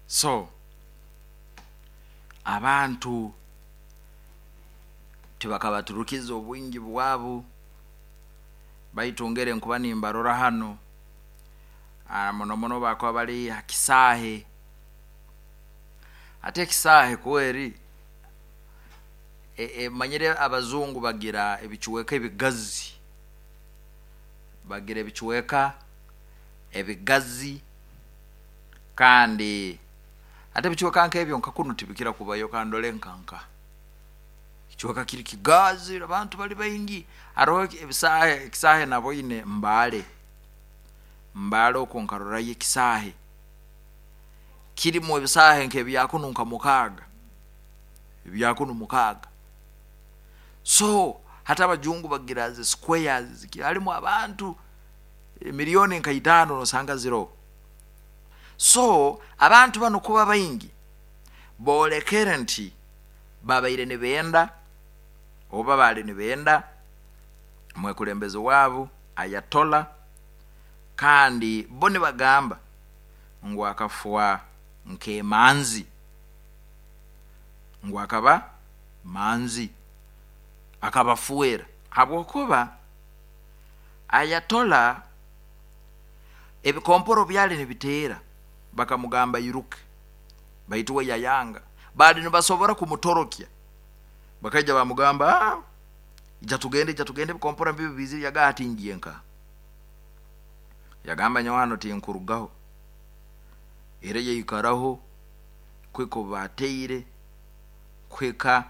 So abantu tibakabaturukiza obwingi bwabo, baitu ngere nkuba nimbarora hano, muno muno bakuba bali ha kisaahe. Ate ekisaahe kweri manyire abazungu bagira ebicweka ebigazi, bagira ebicweka ebigazi, kandi ate ebicweka nk'ebyo nka kunu tibikira kubayo. Kandole nkanka ekicweka kiri kigazi, abantu bali baingi. Haroho ebisaahe, ekisaahe naboine Mbale, Mbale okwo nkarorayo ekisaahe kirimu ebisaahe nk'ebyakunu nka 6, ebyakunu 6. So hati abajungu bagira zi squares harimu abantu miliyoni nka 5 nosanga ziroho. So abantu bano kuba baingi boolekere nti babaire nibenda oba baali nibenda mwekulembezi waabo Ayatollah, kandi bo nibagamba ngu akafwa nk'emanzi, ngu akaba manzi, akabafuera, habwokuba Ayatollah ebikomporo byali nibiteera bakamugamba iruke, baitu we yayanga. Baali nibasobora kumutorokya, bakaija bamugamba, ija tugende, ija tugende, ebikomporo mbibi bizire. Yagamba ati ngiye nka, yagamba nyowe hano tinkurugaho. Era yaikaraho kuhika obu bateire, kuhika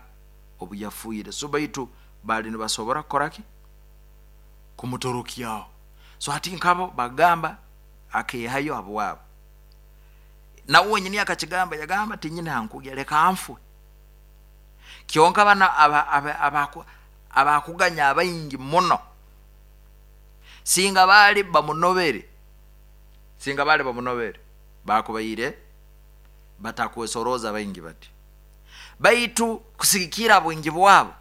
obu yafuire. So baitu baali nibasobora kukora ki? Kumutorokyaho. So hati nkabo bagamba akehayo habwabo. Nawe wenyini akakigamba, yagamba tinyine hankugya, leka nfwe. Kyonka bano abakuganya abaingi muno, singa baali bamunobere, singa baali bamunobere, bakubaire batakwesoroza baingi bati. Baitu kusigikira bwingi bwabo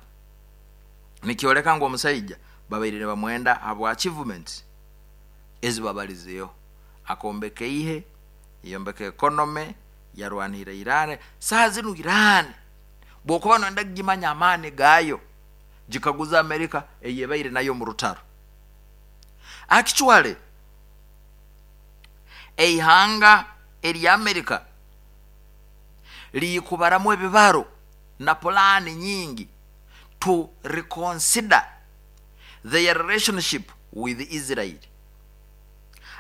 nikyoleka ngu omusaija babaire nibamwenda habwa achievements ezibabalizeho. Akombeka eihe, yombeka economy, yarwanira Iran. Saha zinu Iran bwokuba noyenda kugimanya amaani gayo, gikaguza Amerika eyebaire nayo mu rutaro. Actually eihanga erya Amerika liikubaramu ebibaro na pulaani nyingi to reconsider their relationship with Israel.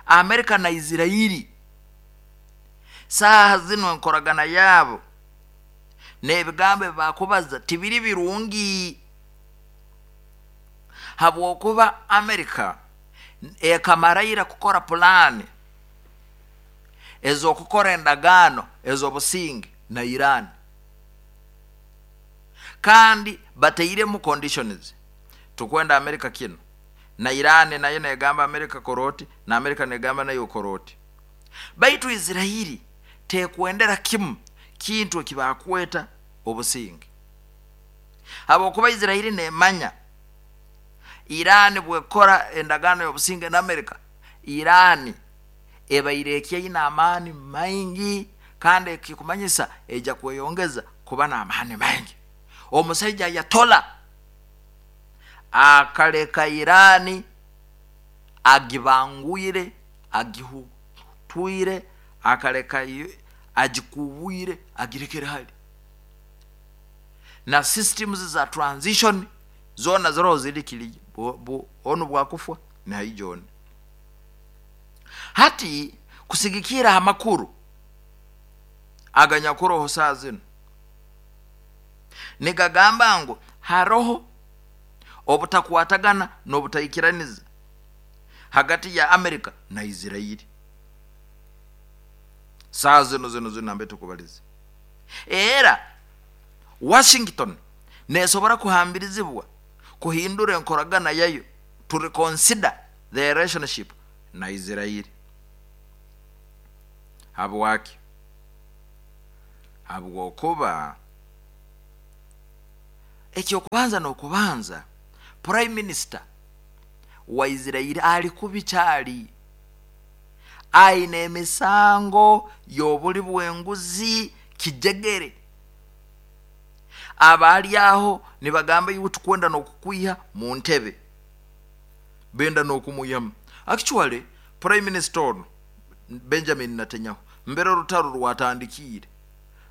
Amerika na Israeli saaha zinu enkoragana yaabo n'ebigambo ebi bakubaza tibiri birungi, habwokuba Amerika ekamaraira kukora pulaani ez'okukora endagaano ez'obusinge na Iran, kandi batairemu conditions. Tukwenda Amerika kinu, na Iran nayo negamba Amerika koroti, na Amerika negamba nayo koroti. Baitu Israeli tekwendera kimu kintu ekibakweta obusinge, habwokuba Israeli nemanya Iran bwekora endagaano y'obusinge na Amerika, Iran ebaire ekyaine amaani maingi, kandi ekikumanyisa ejja kweyongeza kuba n'amaani maingi. Omusaija Ayatollah akaleka Iran agibangwire, agihutwire, akaleka agikubwire, agirekere hali na systems za transition zona ziroho ziri kiri onu bwakufwa nihaija oni. Hati kusigikira ha makuru aganyakuroho saa zinu, nigagamba ngu haroho obutakwatagana n'obutaikiraniza hagati ya Amerika na Israeli saa zino zino zino nambe tukubaliza. Era Washington nesobora kuhambirizibwa kuhindura enkoragana yayo, to reconsider their relationship na Israeli. Habwaki? Habwokuba ekyokubanza n'okubanza, prime minister wa Israeli ali kubi kyali. Aine emisango y'obuli bw'enguzi kijegere. Abaali aho nibagamba iwe tukwenda n'okukwiha mu ntebe, benda n'okumwihamu. Actually Prime Minister ono Benjamin Netanyahu mbere orutaro rwatandikiire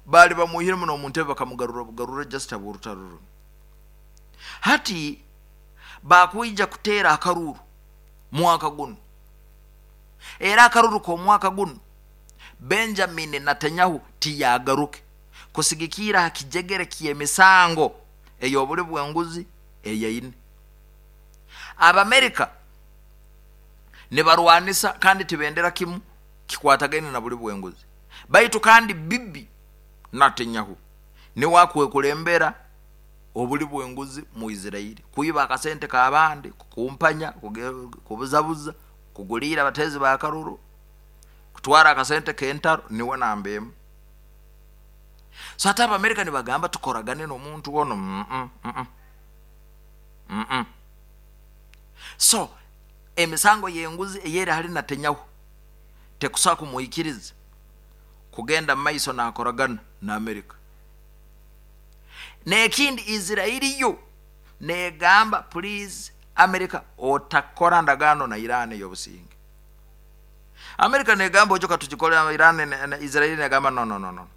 baali bamwihiremu n'omu ntebe bakamugarura bugarura just habw'orutaro runu. Hati bakwija kuteera akaruru mwaka gunu, era akaruru k'omwaka gunu Benjamin Netanyahu tiyagaruke kusigikiira ha kijegere ky'emisango ey'obuli bw'enguzi eyaine. Abamerika nibarwanisa kandi tibendera kimu kikwatagaine na buli bw'enguzi, baitu kandi Bibi Netanyahu niwe akwekulembera obuli bw'enguzi mu Israeli, kwiba akasente k'abandi, kukumpanya, kubuzabuza, kuguliira abateezi b'akaruru, kutwara akasente k'entaro, niwe namba emu. So hati Abamerika nibagamba tukoragane n'omuntu ono. So emisango y'enguzi eyeri hali Netanyahu tekusobola kumwikiriza kugenda mumaiso nakoragana na Amerika. N'ekindi Israeli yo negamba please Amerika otakora ndagaano na Iran ey'obusinge. Amerika negamba ojo katugikole Iran na Israeli negamba no no no no.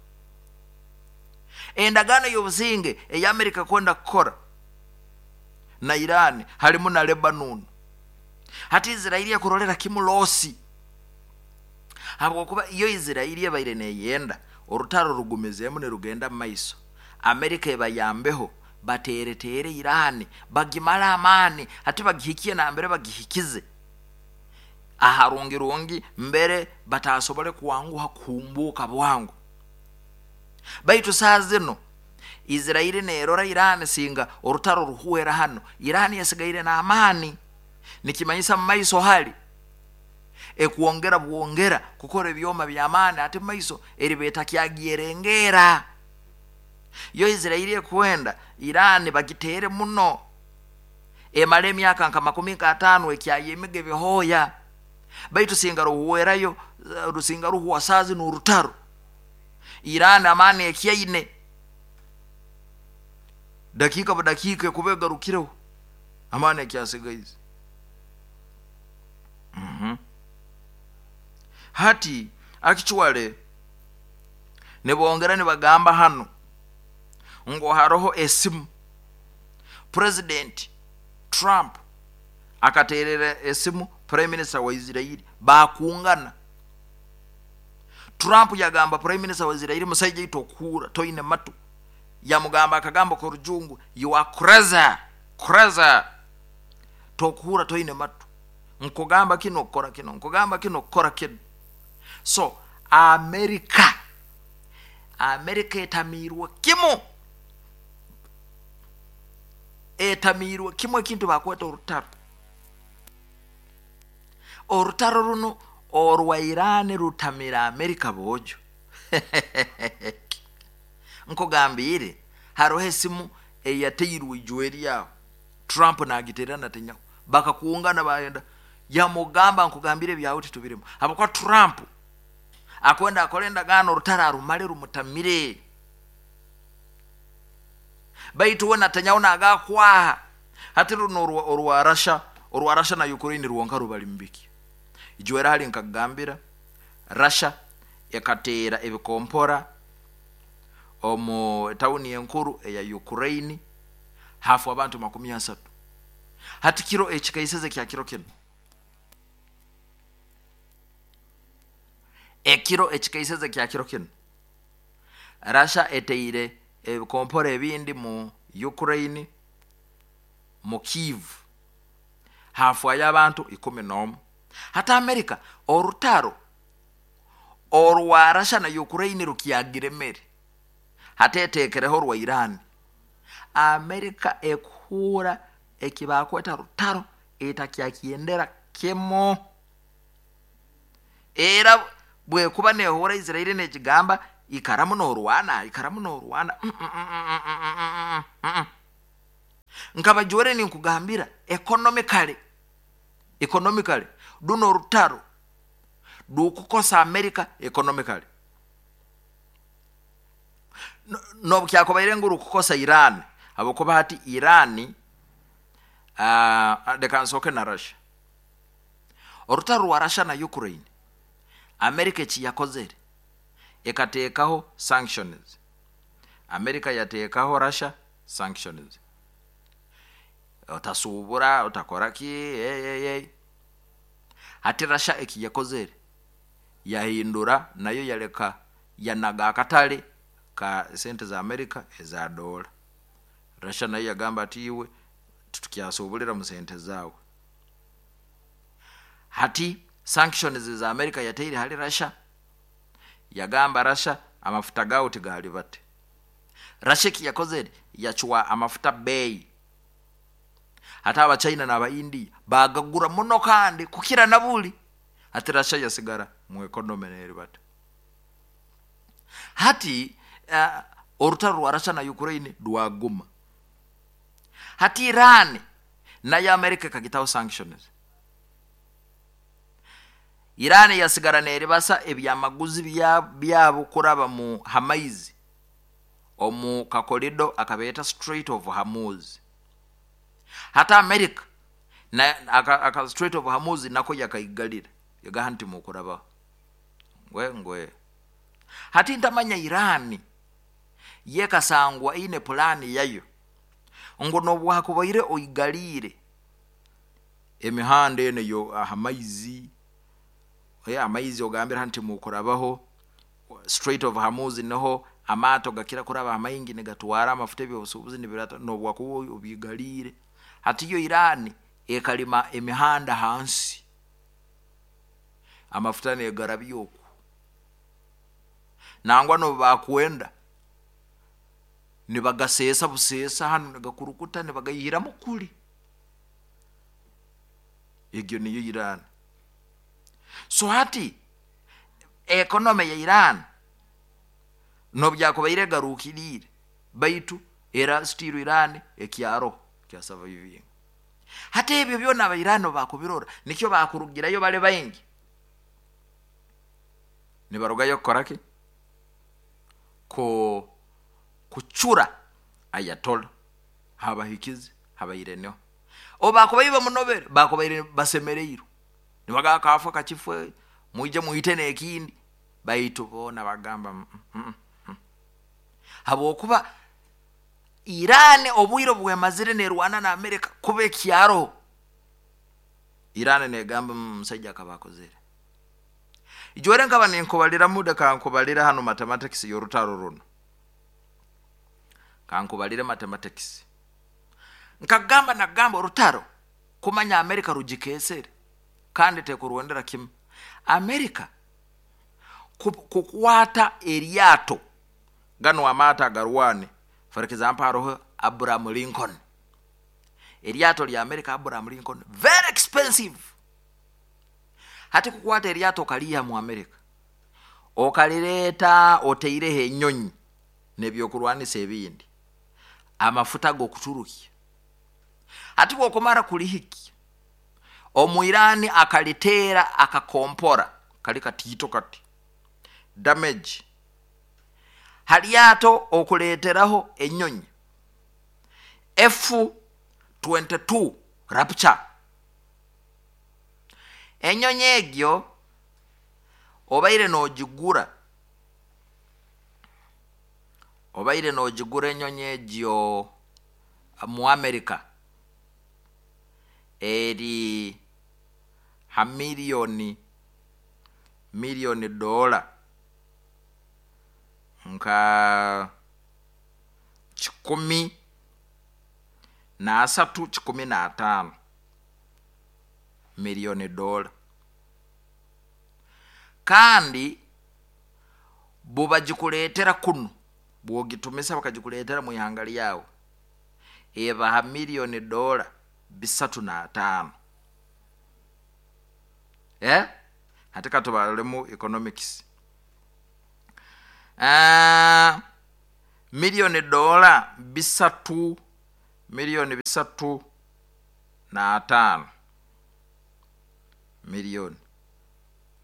Endagaano y'obusinge eya Amerika kwenda kukora na Iran halimu na Lebanon. Hati Israeli ekurolera kimu losi, habwokuba iyo Israeli ebaire neyenda orutaro rugumizeemu nirugenda mumaiso, Amerika ebayambeho bateereteere Iran bagimale amaani, hati bagihikie nambere bagihikize aharungirungi mbere batasobole kwanguha kuhumbuuka bwangu. Baitu saa zino Israeli nerora Iran singa orutaro ruhwera hano, Iran yasigaire n'amaani, nikimanyisa mumaiso hali ekwongera bwongera kukora ebyoma by'amaani, ate mumaiso eriba etakyagyerengeera. Yo Israeli ekwenda Iran bagiteere muno emale emyaka nka 50 ekyayemiga ebihooya, baitu singa ruhwerayo, rusinga ruhwa saa zino orutaro, Iran amaani ekyaine dakiika budakiika ekuba egarukireho amaani ekyasigaize. Hati actually nibongera nibagamba hano ngu haroho esimu President Trump akaterera esimu Prime Minister wa Israeli bakungana. Trump yagamba Prime Minister wa Israeli musaija itu okuhura toine matu, yamugamba akagambo k'orujungu you are crazy, crazy, tokuhura toine matu, nkugamba kino okukora kino, nkugamba kino okukora kino. So Amerika etamiirwe kimu, etamiirwe kimu ekintu bakweta orutaro. Orutaro runo orwa Iran rutamira Amerika boojo. Nkugambiire haroho esimu eyateirwe ijweri aho Trump nagiterera Netanyahu, bakakungana bayenda, yamugamba nkugambire ebyawe titubirimu, habwokuba Trump akwenda akora endagaano orutaro arumale rumutamire. Baitu we Netanyahu nagakwaha hati runo orwa Russia, orwa Russia na Ukraine rwonka rubali mubiki. Ijwera hali nkakugambira Russia ekateera ebikompora omu tawuni enkuru eya Ukraine hafu abantu 30. Hati kiro ekikaiseze kya kiro kino, ekiro ekikaiseze kya kiro kino, Russia eteire ebikompora ebindi mu Ukraine mu Kiev hafwayo abantu 11. Hati Amerika orutaro orwa Russia na Ukraine rukyagiremere, hati etekereho orwa Iran. Amerika ekuhura ekibakweta rutaro etakyakyendera kimu, era bwekuba nehura Israeli negigamba ikaramu norwana, ikaramu norwana. Nkabajwere ninkugambira economically, economically duno orutaro Rukukosa America economically. Nobukyakubaire ngu rukukosa Iran, habwokuba hati Iran, leka nsooke na Russia. Orutaro rwa Russia na Ukraine, America eki yakozere, ekateekaho sanctions. America yateekaho Russia sanctions. Otasuubura, otakora ki, hey. Hati Russia eki yakozere, yahindura nayo yaleka yanaga akatale ka sente za America eza dola. Russia nayo yagamba ati iwe titukyasuubulira mu sente zaawe. Hati sanctions za America yateire hali Russia, yagamba Russia amafuta gaawe tigalibate. Russia eki yakozere, yacwa amafuta bei. Hati Abachina n'aba India bagagura muno kandi kukira na buli. Hati Russia yasigara mu economy neribata. Hati orutaro rwa Russia na Ukraine rwaguma. Hati Iran nayo America ekagitaho sanctions. Iran yasigara neribasa ebyamaguzi byabo kuraba mu hamaizi omu kakorido akabeeta Strait of Hormuz. Hati America na aka Strait of Hormuz nako yakaigalira, yagaha nti mukurabaho ngwe ngwe. Hati ntamanya Iran yekasangwa ine pulani yayo ngu nobwakubaire oigaliire emihanda eno yo aha maizi, amaizi ogambira nti mukurabaho Strait of Hormuz, niho amaato gakira kuraba amaingi nigatwara amafuta ebyobusuubuzi nibirata, nobwakuba obigaliire. Hati yo Iran ekalima emihanda hansi, amafuta negarabya oku, nangwa nobu bakwenda nibagaseesa buseesa hanu nigakurukuta nibagaihiramu kuli. Egyo niyo Iran. So hati economy ya Iran nobyakubaire egarukiriire, baitu era still Iran ekyaroho kya surviving. Hati ebyo byona aba Iran bakubirora, nikyo bakurugirayo bali baingi nibarugayo kukora ki? Ko kucura Ayatollah habahikize habaireneho. Obu bakubaire bamunobere, bakubaire basemereirwe, nibagamba kafa kakifwe, mwije mwite n'ekindi. Baitu boona bagamba habwokuba Iran obwire obwemazire nerwana na America kuba ekyaroho, Iran negamba omusaija akaba akozere. Ijwere nkaba ninkubaliramu, leka nkubalire hanu mathematics y'orutaro runo. Kankubalire mathematics. Nkagamba nagamba orutaro kumanya America rugikesere kandi tekurwendera kimu. America kukwata eryato gano amaato agarwane, for example haroho Abraham Lincoln. Eryato lya America Abraham Lincoln very expensive. Hati kukwata eryato okaliiha mu America, okalireeta oteireho enyonyi n'ebyokurwanisa ebindi, amafuta g'okuturukya. Hati bw'okumara kulihikya, Omuirani akaliteera akakompora kali katiito kati damage halyato okuleeteraho enyonyi F-22 Rapture. Enyonyi egyo obaire nogigura, obaire nogigura enyonyi egyo mu America eri ha miliyoni dola nka 103, 105 miliyoni dola. Kandi bubagikuleetera kunu, bwogitumisa bakagikuleetera mu ihanga lyawe, eba ha miliyoni dola 305. Hati katubalemu economics. Miliyoni dola bisatu, miliyoni 305 miliyoni.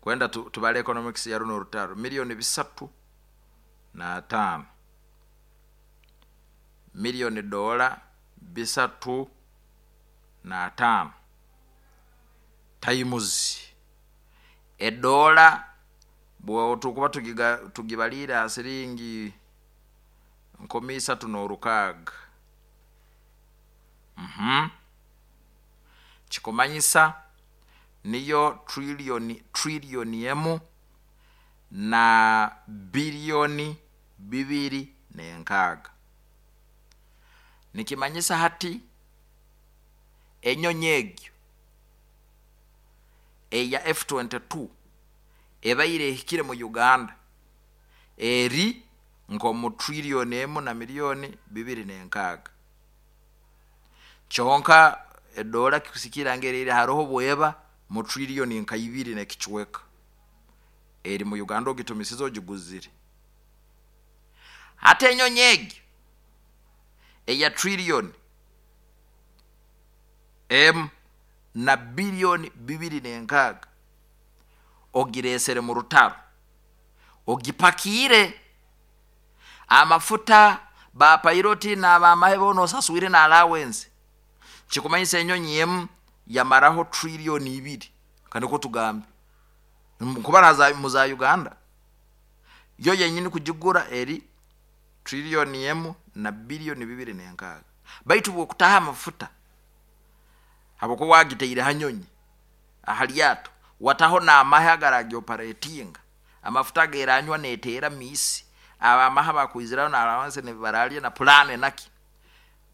Kwenda tubale economics ya runo orutaro. Miliyoni 305, miliyoni dola 305 times edola, bwotukuba tugibalire ha siringi 3600. Kikumanyisa niyo trillioni 1 na biliyoni 206. Nikimanyisa hati enyonyi egyo eya F22 ebaire ehikire mu Uganda eri nk'omu trillioni 1 na miliyoni 206. Kyonka edola kusikira ngeri haroho bweba mu trillioni nka 2 n'ekicweka eri mu Uganda, ogitumisize, ogiguzire. Hati enyonyi egyo eya trillioni 1 na biliyoni 206 ogiresere mu rutaro, ogipakiire amafuta, bapiloti n'abamahe boona osaswire na allowance. Kikumanyisa enyonyi emu yamaraho trillioni 2. Kaniko tugambe kubara mu za Uganda, yo yenyini kugigura eri trillioni 1 na biliyoni 206, baitu bwokutaha amafuta, habwokuba wagiteire hanyonyi ahalyato, wataho n'amahe agaragyoparetinga, amafuta geranywa neteera misi, abamahe bakwiziraho na allowance nibaralya na plane naki,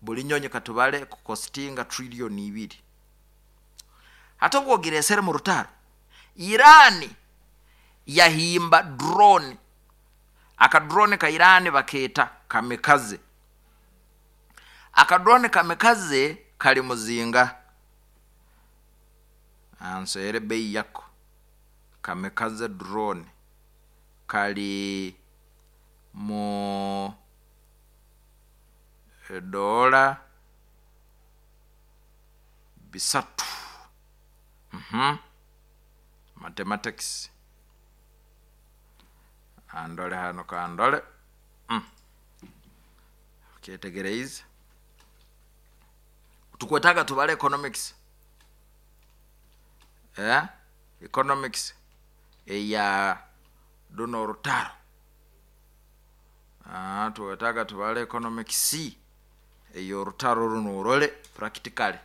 buli nyonyi katubale kukostinga trillioni 2. Hata obwogiresere mu rutaro, Irani yahimba drone. Akadrone ka Irani baketa kamikaze. Akadrone kamikaze kali muzinga ansere bei yako. Kamikaze drone kali mu dola 300. Mathematics andole hano kandole. Kyetegereize, tukwetaga tubale economics, economics eya runo orutaro. Tuwetaga tubale economics eyorutaro runo, orole practically.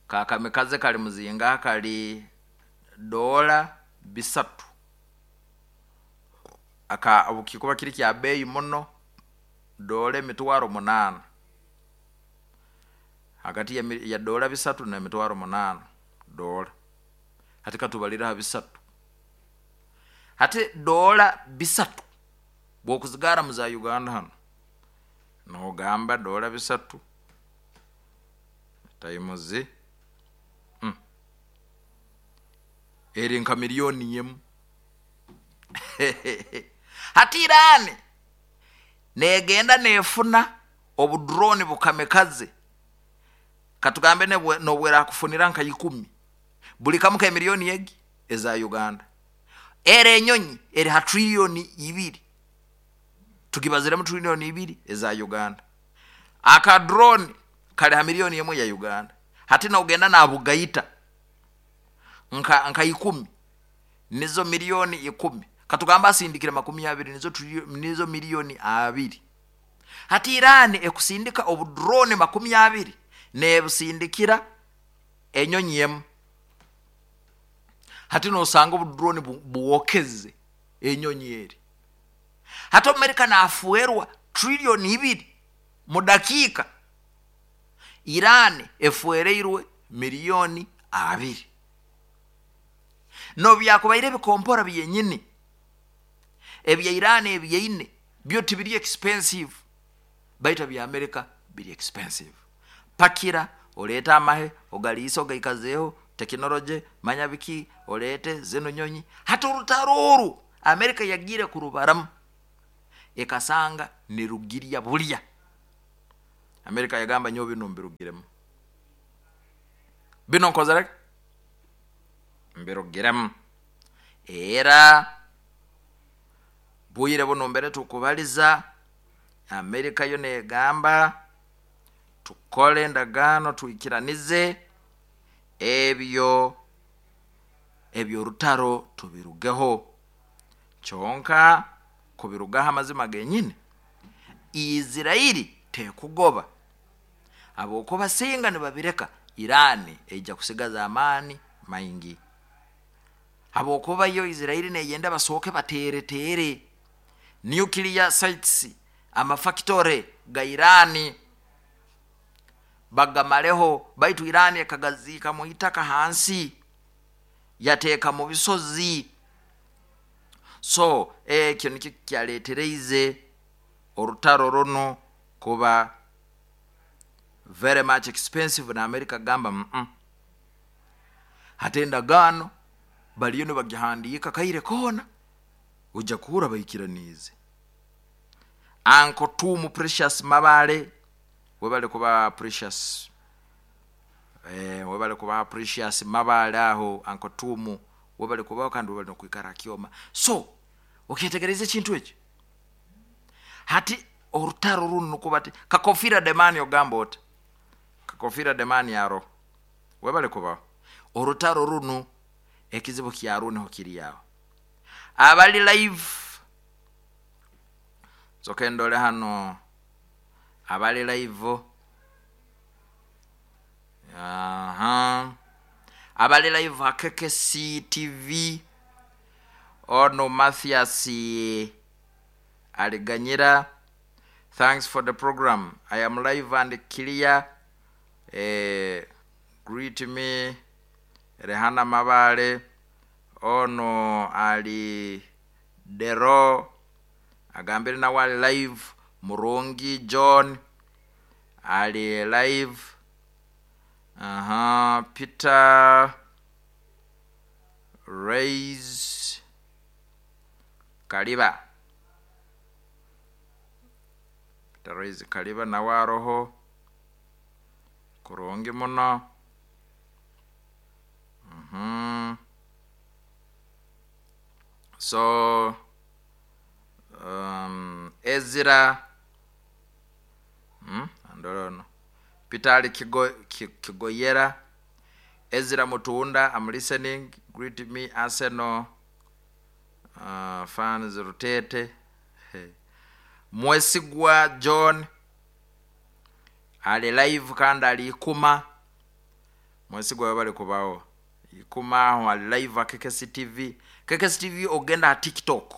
Kakamikaze kali muzinga kali dola 300. Aka obukikuba kiri kya beyi muno, dola 800,000, hagati ya dola 300 na 800,000 dola. Hati katubalira ha 300. Hati dola 300 bwokuzigara mu za Uganda hano, nogamba dola 300 times eri nka miliyoni 1. Hati Irani negenda nefuna obudrone bukamikaze, katugambe nobwera kufunira nka 10, buli kamu ka miliyoni egi eza Uganda. Ere enyonyi eri ha trillioni 2, tukibaziremu trillioni 2 eza Uganda. Aka drone kali ha miliyoni 1 ya Uganda. Hati na ugenda na bugaita nka 10, nizo miliyoni 10, katugamba asindikire 20, nizo miliyoni 2. Hati Irani ekusindika obudrone 20 nebusindikira enyonyi emu. Hati nosanga obudrone buwokeze enyonyi eri. Hati Amerika nafuerwa trillioni 2 mu dakika, Irani efuereirwe miliyoni 2. No byakubaire bikompora byenyini ebya Irani ebyeine byo tibiri expensive, baitu bya Amerika biri expensive. Pakira oleta amahe ogaliisa ogaikazeeho tekinoloje manya biki, olete zino nyonyi. Hata orutaro oru Amerika yagire kurubaramu ekasanga nirugirya bulya. Amerika yagamba nyo bino mbirugiremu, bino nkozere mbirugiremu. Era bwire buno mbere tukubaliza, Amerika yo negamba tukole endagaano, twikiranize ebyo eby'orutaro tubirugeho. Kyonka kubirugaho, amazima genyini, Isirairi tekugoba, habwokuba singa nibabireka, Irani eija kusigaza amaani maingi, habwokuba yo Isirairi neyenda basooke bateereteere nuclear sites, amafactory ga Irani bagamareho. Baitu Irani ekagaziika mu itaka hansi, yateeka mu bisozi. So ekyo nikyo kyaletereize orutaro runu kuba very much expensive, na Amerika kugamba Hati endagaano bariyo nibagihandiika kaire koona, ojja kuhurra baikiraniize. Uncle Tumu Precious Mabale, webale kuba Precious, webale kuba Precious Mabale aho. Uncle Tumu, webale kubaho kandi webale nokwikara hakyoma. So okyetegereza ekintu ekyo. Hati orutaro runu nukuba ti Kakofira Demani, ogamba oti Kakofira Demani aro, webale kubaho. Orutaro runu ekizibu kyarwo niho kiri aho. Abali live, soke ndole hano abali live. Aha, abali live ha KKC TV, ono Mathias Aliganyira, "Thanks for the program. I am live and clear. Greet me Rehana Mabale." Ono ali Dero agambire nawe ali live. Murungi John ali live. Aha, Peter Rays Kaliba, Peter Rays Kaliba nawe aroho kurungi muno. So Ezra, andorono Peter ali Kigoyera. Ezra Mutunda, "I'm listening. Greet me Arsenal fans Rutete." Hey. Mwesigwa John ali live kandi ali Ikuma. Mwesigwa, bali kubaho Ikuma aho, ali live a KKC TV. KKC TV, ogenda ha TikTok.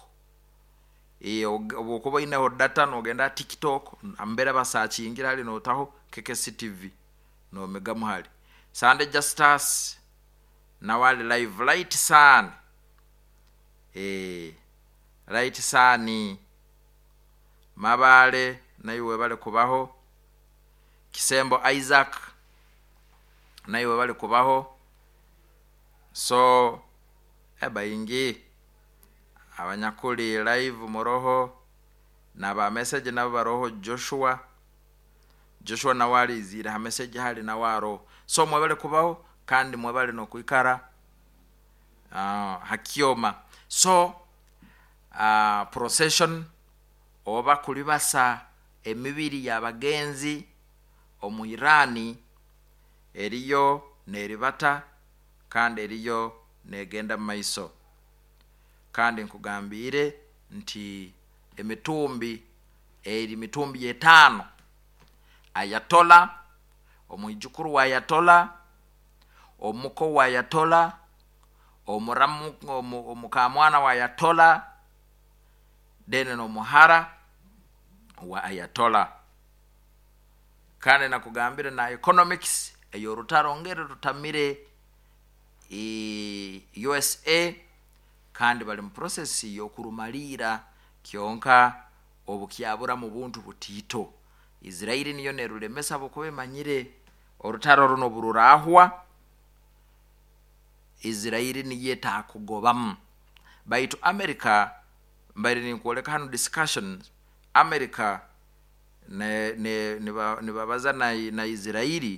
Obwokuba oineho data, nogenda ha TikTok ambere basakingira hali, notaho KKC TV, nomigamu hali. Sande Justus nawe ali live. Light Sun, Light Sun Mabale, naiwe bali kubaho. Kisembo Isaac, naiwe bali kubaho. So ebaingi abanyakuli live muroho, naba message nabo baroho. Joshua, Joshua nawe alizire ha message hali, nawe aroho. So mwebale kubaho kandi mwebale nokwikara hakyoma. So procession oba kulibasa emibiri y'abagenzi omu Irani eriyo neribata kandi eriyo negenda mu maiso. Kandi nkugambire nti emitumbi eri mitumbi etaano: ayatola, omwijukuru wa ayatola, omuko wa ayatola, omuramu, omukamwana wa ayatola, then n'omuhara wa ayatola. Kandi nakugambire na economics ey'orutaro ngeri rutamire USA, kandi bali mu process y'okurumaliira. Kyonka obukyabura mu buntu butiito, Israeli niyo nerulemesa, bukuba emanyire orutaro runo bururahwa, Israeli niyo etakugobamu. Baitu America, mbaire ninkwoleka hano discussion, America nibabaza na Israeli.